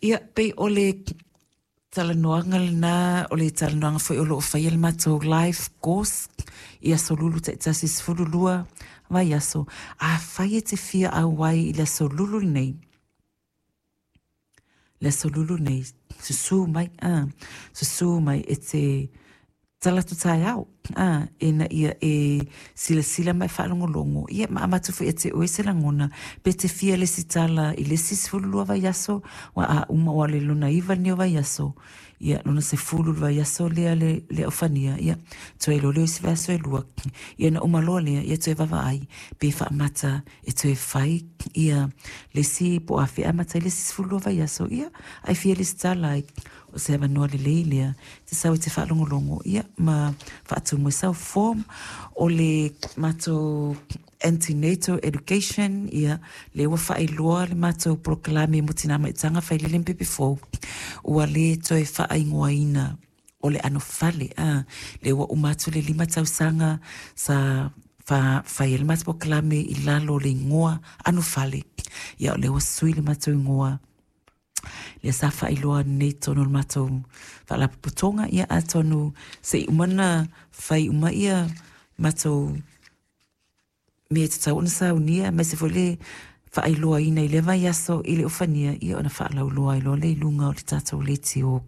Ia, pei o le talanoaga lena, o le talanoaga foi o lo o faia le matou life course i Aso Lulu taitasi 12 vaiaso. Afai e te fia auai i le Aso Lulu lenei, le Aso Lulu nei, susu mai, susu mai e te tala atu taeao, ina ia e silasila ma e faalogologo, ia ma avatu foi ia te oe se lagona, pe te fia lesitala i le isi 12 vaiaso, ua a uma ua le lona 9 lenei o vaiaso, ia lona 10 le vaiaso lea le aufania, ia toe loa lea o isi vaiaso e 2, ia na uma loa lea, ia toe vaavaai pe faamata e toe fai ia le isi po o afea e amata ai le isi 12 vaiaso, ia ae fia lesitala ai. O se avanoa lelei lea te sau e te faalogologo ia ma faatumu ai sau form. O le matou antenatal education, ia lea ua faailoa le matou polokalame mo Tina Maitaga Failele ma Pepe Fou, ua le toe faaigoaina o le ano fale, lea ua uma atu le 5 tausaga sa fai ai le matou polokalame i lalo o le igoa ano fale, ia o lea ua sui le matou igoa lea sa faailoa nei totonu o le matou faalapotopotoga, ia atonu se i uma ona fai uma ia matou mea e tatau ona saunia, aemaise foi le faailoaina i lea vaiaso i le ofania, ia ona faalauloa ai loa lea i luga o le tatou leitio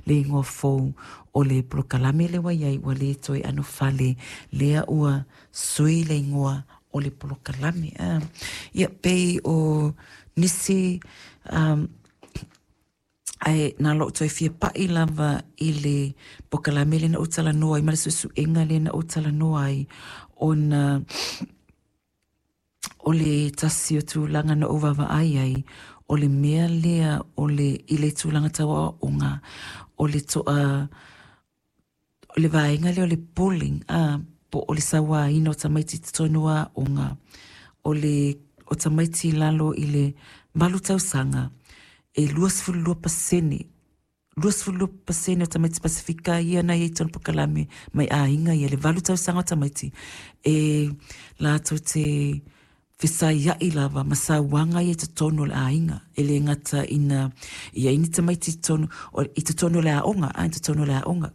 le igoa fou o le polokalame lea ua i ai, ua le toe anofale, lea ua sui le igoa o le polokalame. Ia pei o nisi ae na lou toe fia pa'i lava i le polokalame lea na ou talanoa ai ma le suesuega lea na ou talanoa ai, ona o le tasi o tulaga na ou vaavaai ai, o le mea lea o le i le tulaga tau aoaoga, o le to'a o le vaega lea o le bullying, po o le sauaina o tamaiti i totonu o aoga, o le o tamaiti i lalo i le 8 tausaga, e 22%, 22% o tamaiti Pasifika ia na i ai i totonu o polokalame mai aiga ia, le 8 tausaga o tamaiti, e latou te fesaia'i lava ma sauaga ia i totonu o le aiga. E le gata ina i ai ni tamaiti i totonu, i totonu o le aoga, i totonu o le aoga.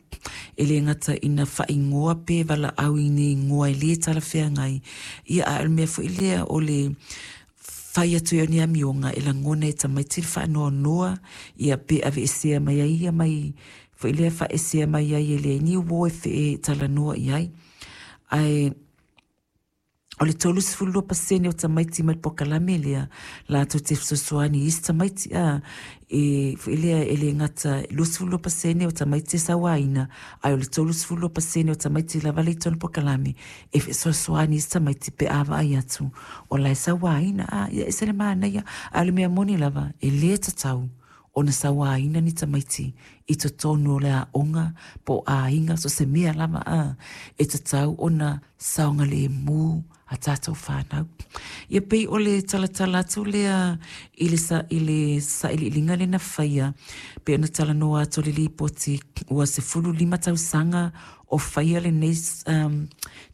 E le gata ina faaigoa pe valaau i ni igoa e le talafeagai, ia a o le mea foi lea o le fai atu ai o ni amioga e lagona e tamaiti le faanoanoa, ia pe aveesea mai ai ia mai foi lea faaesea mai ai e leai ni uo e talanoa i ai. Ae o le 32% o tamaiti mai le polokalame lea latou te fesoasoani i isi tamaiti, e foi lea e le gata 22% o tamaiti e sauaina, ae o le 32% o tamaiti lava le i totonu o le polokalame e fesoasoani i isi tamaiti pe a vaai atu o la e sauaina, ia e ese le manaia. Ae o le mea moni lava, e le tatau ona sauaina ni tamaiti i totonu o le aoga po o aiga, so o se mea lava, e tatau ona saogalemu a tatou whānau. Ia pei o le talatala atu lea i le, sa, i le sailiiliga lea na faia, pei ona talanoa atu le lipoti ua 15 tausaga o faia lenei,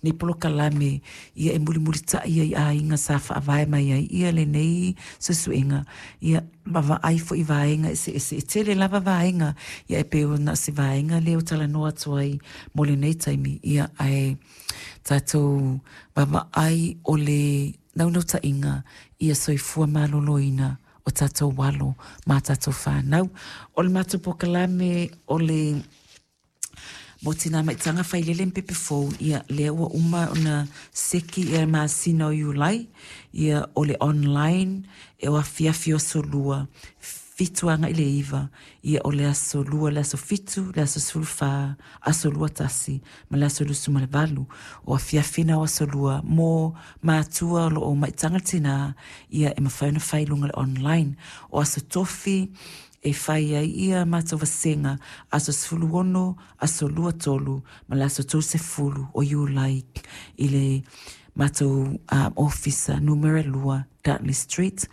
nei polokalame, ia e mulimulita'i ai aiga sa faavae mai ai ia lenei suesuega, ia ma vaai foi i vaega eseese. E tele lava vaega, ia e pei ona o se vaega lea ua talanoa atu ai mo lenei taimi, ia ae tatou vaavaai o le naunautaiga ia soifua maloloina o tatou alo ma tatou fanau. O le matou polokalame o le mo Tinā Maitaga Failele ma Pepe Fou, ia, lea ua uma ona seki ia masina o Iulai, ia, o le online, e o afiafi o aso lua, 7 agai le 9, ia, o le aso lua, le aso 7, le aso 14, aso 21, ma le aso 28. O afiafi na o aso lua mo matua o lo o maitaga le tinā, ia, e mafai ona fai i luga o le online. O aso tofi, e fai ai ia matou vasega aso 16, aso 23 ma le aso 30 o Iulai i le matou ofisa numera 2 Dartley Street.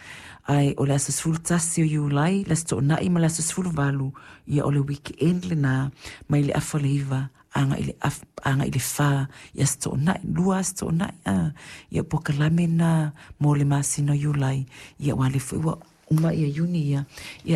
Ae o le aso 11 o Iulai, le aso Toonai ma le aso 18, ia o le weekend lena mai le afa o le 9 agai le agai le 4 i aso Toonai, 2 aso Toonai, ia polokalame na mo le masina o Iulai, ia aua o lea foi ua uma ia Iuni ia, ia.